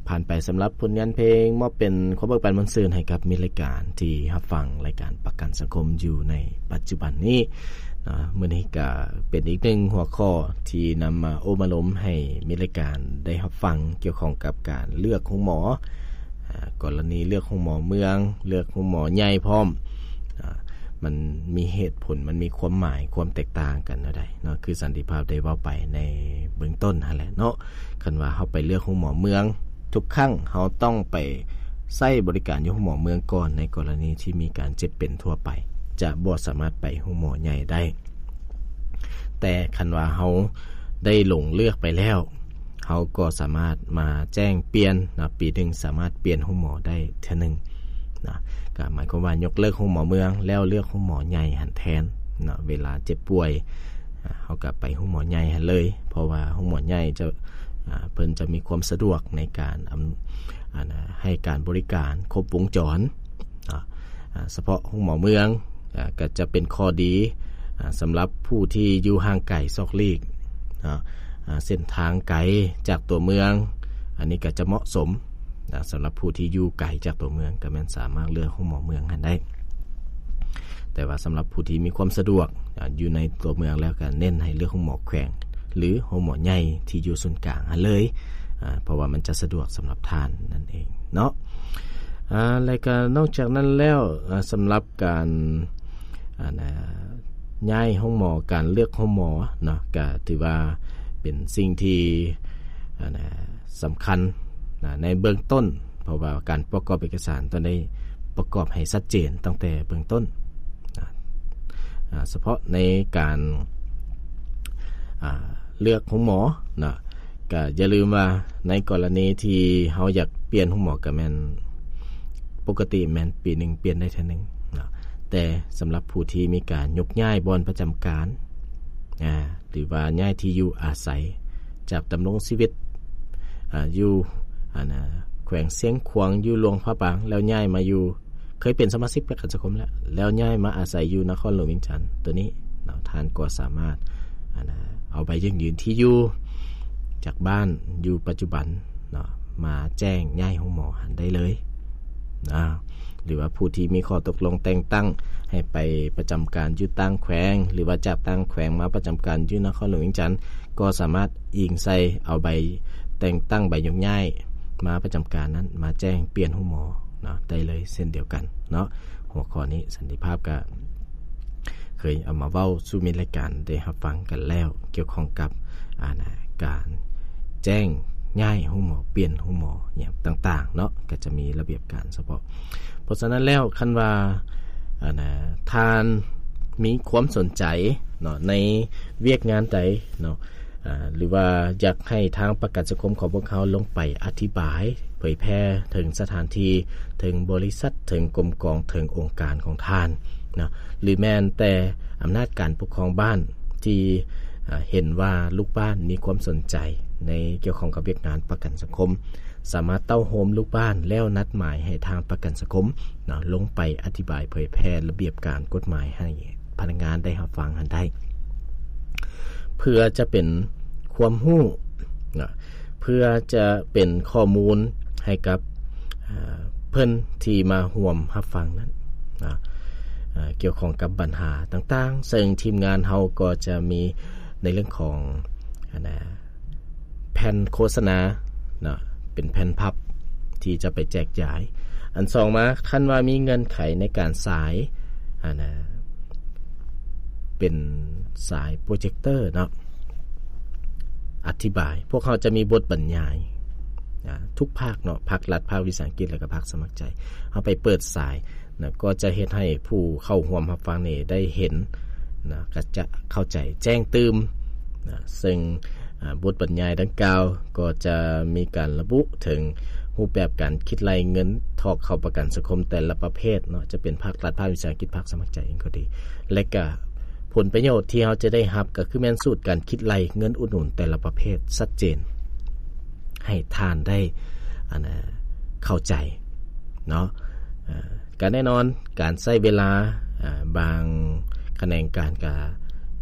ຜ່ານໄປສຳລັບຜົນງານເພງ ມອບເປັນຄວາມເບີກບານມ່ວນຊື່ນໃຫ້ກັບມິດລາຍການທີ່ຮັບຟັງລາຍການປະກັນສັງຄົມຢູ່ໃນປັດຈຸບັນນີ້ເນາະ. ມື້ນີ້ກໍເປັນອີກໜຶ່ງຫົວຂໍ້ທີ່ນຳມາໂອ້ມາລົມໃຫ້ມິດລາຍການໄດ້ຮັບຟັງ ກ່ຽວຂ້ອງກັບການເລືອກໂຮງໝໍ, ອາ ກໍລະນີເລືອກໂຮງໝໍເມືອງ, ເລືອກໂຮງໝໍໃຫຍ່ພ້ອມ, ອາ ມັນມີເຫດຜົນ, ມັນມີຄວາມໝາຍ, ຄວາມແຕກຕ່າງກັນແນວໃດເນາະ. ຄືສັນຕິພາບໄດ້ເວົ້າໄປໃນເບື້ອງຕົ້ນຫັ້ນແຫຼະເນາະ. ຄັນວ່າເຮົາໄປເລືອກໂຮງໝໍເມືອງ, ທຸກຄັ້ງເຮົາຕ້ອງໄປໃຊ້ບໍລິການຢູ່ໂຮງໝໍເມືອງກ່ອນ ໃນກໍລະນີທີ່ມີການເຈັບເປັນທົ່ວໄປ, ຈະບໍ່ສາມາດໄປໂຮງໝໍໃຫຍ່ໄດ້. ແຕ່ຄັນວ່າເຮົາໄດ້ຫຼົງເລືອກໄປແລ້ວ, ເຮົາກໍສາມາດມາແຈ້ງປ່ຽນເນາະ, ປີໜຶ່ງສາມາດປ່ຽນໂຮງໝໍໄດ້ເທື່ອໜຶ່ງເນາະ. ກໍໝາຍຄວາມວ່າຍົກເລີກໂຮງໝໍເມືອງ ແລ້ວເລືອກໂຮງໝໍໃຫຍ່ຫັ້ນແທນເນາະ. ເວລາເຈັບປ່ວຍ, ອາ ເຮົາກໍໄປໂຮງໝໍໃຫຍ່ຫັ້ນເລີຍ, ເພາະວ່າໂຮງໝໍໃຫຍ່ຈະ, ອາ ເພິ່ນຈະມີຄວາມສະດວກໃນການ, ອຳ, ອັນ, ໃຫ້ການບໍລິການຄົບວົງຈອນເນາະ. ອາ ສະເພາະໂຮງໝໍເມືອງ, ອາ ກໍຈະເປັນຂໍ້ດີ, ອາ ສຳລັບຜູ້ທີ່ຢູ່ຫ່າງໄກສອກຫຼີກເນາະ, ອາ ເສັ້ນທາງໄກຈາກຕົວເມືອງ, ອັນນີ້ກໍຈະເໝາະສົມນະ. ສຳລັບຜູ້ທີ່ຢູ່ໄກຈາກຕົວເມືອງ ກໍແມ່ນສາມາດເລືອກໂຮງໝໍເມືອງຫັ້ນໄດ້. ແຕ່ວ່າສຳລັບຜູ້ທີ່ມີຄວາມສະດວກ, ອາ ຢູ່ໃນຕົວເມືອງແລ້ວ ກໍເນັ້ນໃຫ້ເລືອກໂຮງໝໍແຂວງ ຫຼື ໂຮງໝໍໃຫຍ່ທີ່ຢູ່ສູນກາງຫັ້ນເລີຍ, ອາ ເພາະວ່າມັນຈະສະດວກສຳລັບທ່ານນັ້ນເອງເນາະ. ອາ ແລະກະນອກຈາກນັ້ນແລ້ວ, ອາ ສຳລັບການ, ອັນ, ອາ ຍ້າຍໂຮງໝໍ, ການເລືອກໂຮງໝໍເນາະ, ກະຖືວ່າເປັນສິ່ງທີ່, ອັນ, ອາ ສຳຄັນນະ ໃນເບື້ອງຕົ້ນ, ເພາະວ່າການປະກອບເອກະສານຕ້ອງໄດ້ປະກອບໃຫ້ຊັດເຈນຕັ້ງແຕ່ເບື້ອງຕົ້ນນະ. ອາ ສະເພາະໃນການ, ອາ ເລືອກໂຮງໝໍນະ, ກະຢ່າລືມວ່າໃນກໍລະນີທີ່ເຮົາຢາກປ່ຽນໂຮງໝໍ ກະແມ່ນ ປົກກະຕິແມ່ນປີໜຶ່ງປ່ຽນໄດ້ເທື່ອໜຶ່ງເນາະ. ແຕ່ສຳລັບຜູ້ທີ່ມີການຍົກຍ້າຍບ່ອນປະຈຳການ, ອາ ຫຼືວ່າຍ້າຍທີ່ຢູ່ອາໄສ ຈາກດຳລົງຊີວິດ, ອາ ຢູ່, ອັນ, ອາ ແຂວງຊຽງຂວາງ, ຢູ່ຫຼວງພະບາງ, ແລ້ວຍ້າຍມາຢູ່, ເຄີຍເປັນສະມາຊິກປະກັນສັງຄົມແລ້ວ, ແລ້ວຍ້າຍມາອາໄສຢູ່ນະຄອນຫຼວງວຽງຈັນ, ໂຕນີ້ເນາະ, ທ່ານກໍສາມາດ, ອັນ, ເອົາໃບຢັ້ງຢືນທີ່ຢູ່ຈາກບ້ານຢູ່ປັດຈຸບັນເນາະ, ມາແຈ້ງຍ້າຍໂຮງໝໍຫັ້ນໄດ້ເລີຍນະ. ຫຼືວ່າຜູ້ທີ່ມີຂໍ້ຕົກລົງແຕ່ງຕັ້ງໃຫ້ໄປປະຈຳການຢູ່ຕ່າງແຂວງ, ຫຼືວ່າຈາກຕ່າງແຂວງມາປະຈຳການຢູ່ນະຄອນຫຼວງວຽງຈັນ, ກໍສາມາດອີງໃສ່ເອົາໃບແຕ່ງຕັ້ງ, ໃບຍົກຍ້າຍມາປະຈຳການນັ້ນ ມາແຈ້ງປ່ຽນໂຮງໝໍເນາະ ໄດ້ເລີຍເຊັ່ນດຽວກັນເນາະ. ຫົວຂໍ້ນີ້ສັນຕິພາບກະເຄີຍເອົາມາເວົ້າສູ່ມິດລາຍການໄດ້ຮັບຟັງກັນແລ້ວ ກ່ຽວຂ້ອງກັບ, ອັນ, ການແຈ້ງຍ້າຍໂຮງໝໍ, ປ່ຽນໂຮງໝໍຫຍັງຕ່າງໆເນາະ, ກໍຈະມີລະບຽບການສະເພາະ. ເພາະສະນັ້ນແລ້ວ ຄັນວ່າ, ອັນ, ທ່ານມີຄວາມສົນໃຈເນາະ ໃນວຽກງານໃດເນາະ, ອາ ຫຼືວ່າຢາກໃຫ້ທາງປະກັນສັງຄົມຂອງພວກເຮົາລົງໄປອະທິບາຍເຜີຍແຜ່ເຖິງສະຖານທີ່, ເຖິງບໍລິສັດ, ເຖິງກົມກອງ, ເຖິງອົງການຂອງທ່ານເນາະ, ຫຼືແມ່ນແຕ່ອຳນາດການປົກຄອງບ້ານທີ່, ອາ ເຫັນວ່າລູກບ້ານມີຄວາມສົນໃຈໃນກ່ຽວຂ້ອງກັບວຽກງານປະກັນສັງຄົມ, ສາມາດເຕົ້າໂຮມລູກບ້ານແລ້ວນັດໝາຍໃຫ້ທາງປະກັນສັງຄົມເນາະ ລົງໄປອະທິບາຍເຜີຍແຜ່ລະບຽບການກົດໝາຍໃຫ້ພະນັກງານໄດ້ຮັບຟັງຫັ້ນໄດ້ ເພື່ອຈະເປັນຄວາມຮູ້ເນາະ ເພື່ອຈະເປັນຂໍ້ມູນໃຫ້ກັບ, ອາ, ເພິ່ນທີ່ມາຮ່ວມຮັບຟັງນັ້ນເນາະ, ອາ, ກ່ຽວຂ້ອງກັບບັນຫາຕ່າງໆ, ເຊິ່ງທີມງານເຮົາກໍຈະມີໃນເລື່ອງຂອງ, ອັນນະ, ແຜ່ນໂຄສະນາເນາະ ເປັນແຜ່ນພັບທີ່ຈະໄປແຈກຢາຍ. ອັນສອງມາ, ຄັນວ່າມີເງື່ອນໄຂໃນການສາຍ, ອັນນະ, ເປັນສາຍໂປຣເຈັກເຕີເນາະ ອະທິບາຍ, ພວກເຮົາຈະມີບົດບັນຍາຍ, ອາ, ທຸກພາກເນາະ, ພາກລັດ, ພາກວິສາຫະກິດ ແລະກະພາກສະໝັກໃຈ. ເຮົາໄປເປີດສາຍ ນະ ກໍຈະເຮັດໃຫ້ຜູ້ເຂົ້າຮ່ວມຮັບຟັງນີ້ໄດ້ເຫັນນະ ກໍຈະເຂົ້າໃຈແຈ້ງຕື່ມນະ ເຊິ່ງ, ອາ, ບົດບັນຍາຍດັ່ງກ່າວກໍຈະມີການລະບຸເຖິງຮູບແບບການຄິດໄລ່ເງິນຖອກເຂົ້າປະກັນສັງຄົມແຕ່ລະປະເພດເນາະ, ຈະເປັນພາກລັດ, ພາກວິສາຫະກິດ, ພາກສະໝັກໃຈເອງກໍດີ ແລະກະຜົນປະໂຫຍດທີ່ເຮົາຈະໄດ້ຮັບກໍຄືແມ່ນສູດການຄິດໄລ່ເງິນອຸດໜູນແຕ່ລະປະເພດຊັດເຈນ ໃຫ້ທ່ານໄດ້, ອັນນະ, ເຂົ້າໃຈເນາະ. ເອີ, ກະແນ່ນອນ ການໃຊ້ເວລາ, ອາ, ບາງຂະແໜງການກະ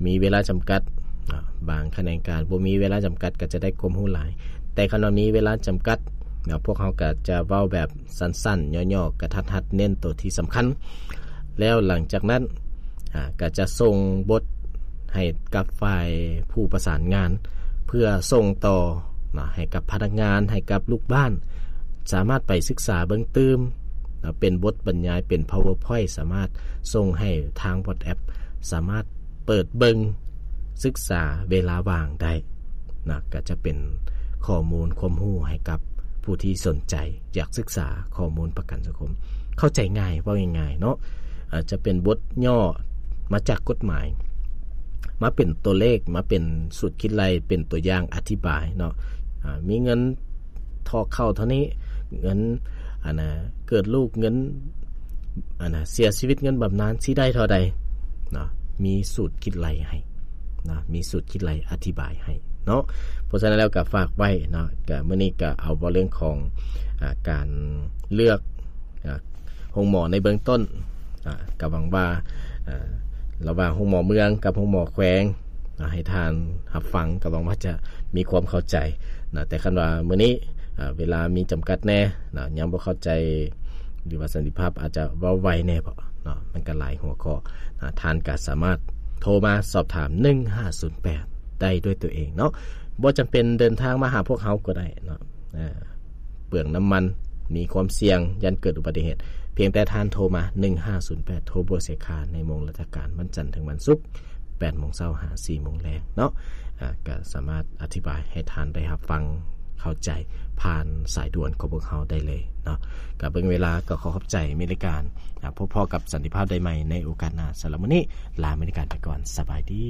ມີເວລາຈຳກັດເນາະ, ບາງຂະແໜງການບໍ່ມີເວລາຈຳກັດ ກະຈະໄດ້ຄວາມຮູ້ຫຼາຍ. ແຕ່ຄັນວ່າມີເວລາຈຳກັດ ເນາະ ພວກເຮົາກໍຈະເວົ້າແບບສັ້ນໆ ຫຍໍ້ໆ ກະທັດຮັດ ເນັ້ນໂຕທີ່ສຳຄັນ. ແລ້ວຫຼັງຈາກນັ້ນ ອາ ກໍຈະສົ່ງບົດໃຫ້ກັບຝ່າຍຜູ້ປະສານງານ ເພື່ອສົ່ງຕໍ່ເນາະ ໃຫ້ກັບພະນັກງານ ໃຫ້ກັບລູກບ້ານ ສາມາດໄປສຶກສາເບິ່ງຕື່ມເນາະ ເປັນບົດບັນຍາຍ ເປັນ PowerPoint ສາມາດສົ່ງໃຫ້ທາງ WhatsApp ສາມາດ ເປີດເບິ່ງສຶກສາເວລາວ່າງໄດ້ນະ ກໍຈະເປັນຂໍ້ມູນຄວາມຮູ້ໃຫ້ກັບຜູ້ທີ່ສົນໃຈຢາກສຶກສາຂໍ້ມູນປະກັນສັງຄົມ. ເຂົ້າໃຈງ່າຍ ເວົ້າງ່າຍໆເນາະ ອາດຈະເປັນບົດຫຍໍ້ມາຈາກກົດໝາຍ ມາເປັນຕົວເລກ ມາເປັນສູດຄິດໄລ່ ເປັນຕົວຢ່າງອະທິບາຍເນາະ ອາ ມີເງິນ ຖອກເຂົ້າເທົ່ານີ້ ເງິນ ອັນນ່າ ເກີດລູກ ເງິນ ອັນນ່າ ເສຍຊີວິດ ເງິນບຳນານ ຊິໄດ້ເທົ່າໃດເນາະ ມີສູດຄິດໄລ່ໃຫ້ເນາະ ມີສູດຄິດໄລ່ອະທິບາຍໃຫ້ເນາະ. ເພາະສະນັ້ນແລ້ວກໍຝາກໄວ້ເນາະ ກໍມື້ນີ້ກໍເອົາເວົ້າເລື່ອງຂອງ ອາ ການເລືອກ ອາ ໂຮງໝໍໃນເບື້ອງຕົ້ນ ອາ ກໍຫວັງວ່າ ອາ ລະຫວ່າງໂຮງໝໍເມືອງກັບໂຮງໝໍແຂວງ ອາ ໃຫ້ທ່ານຮັບຟັງ ກໍຫວັງວ່າຈະມີຄວາມເຂົ້າໃຈນະ. ແຕ່ຄັນວ່າມື້ນີ້ ອາ ເວລາມີຈຳກັດແດ່ນະ ຍັງບໍ່ເຂົ້າໃຈ ຫຼືວ່າສັນຕິພາບອາດຈະເວົ້າໄວແດ່ບໍເນາະ ມັນກໍຫຼາຍຫົວຂໍ້ ອາ ທ່ານກໍສາມາດໂທມາສອບຖາມ ໜຶ່ງຫ້າສູນແປດ ໄດ້ດ້ວຍຕົວເອງເນາະ ບໍ່ຈຳເປັນເດີນທາງມາຫາພວກເຮົາກໍໄດ້ເນາະ. ອາ ເປືອງນ້ຳມັນ ມີຄວາມສ່ຽງ ຢ້ານເກີດອຸບັດຕິເຫດ ພຽງແຕ່ທ່ານໂທມາ ໜຶ່ງຫ້າສູນແປດ ໂທບໍ່ເສຍຄ່າ ໃນໂມງລາຊະການ ວັນຈັນເຖິງວັນສຸກ ແປດໂມງເຊົ້າຫາສີ່ໂມງແລງເນາະ. ອາ ກໍສາມາດອະທິບາຍໃຫ້ທ່ານໄດ້ຮັບຟັງເຂົ້າໃຈ ຜ່ານສາຍດ່ວນຂອງພວກເຮົາໄດ້ເລີຍເນາະ. ກໍເບິ່ງເວລາ ກໍຂໍຂອບໃຈອາເມລິກາ ອາ ພົບພໍ້ກັບສັນຕິພາບໄດ້ໃໝ່ໃນໂອກາດໜ້າ. ສຳລັບມື້ນີ້ ລາອາເມລິກາໄປກ່ອນ. ສະບາຍດີ.